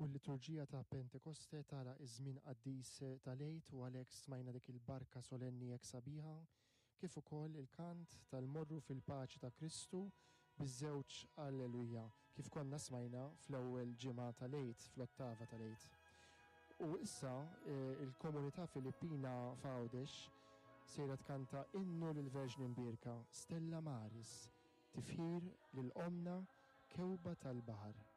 U l-liturġija ta' Pentekoste tagħlaq iż-żmien qaddis tal-Għid u għalhekk smajna dik il-barka solenni hekk sabiħa, kif ukoll il-kant tal-Morru fil-Paċi ta' Kristu biż-żewġ Alleluja, kif konna smajna fl-ewwel ġimgħa tal-Għid, fl-ottava tal-Għid. U issa il-komunità Filippina f'Għawdex sejra tkanta innu lill-Verġni Mbierka, Stella Maris, tifħir lil Ommna Kewba tal-Baħar.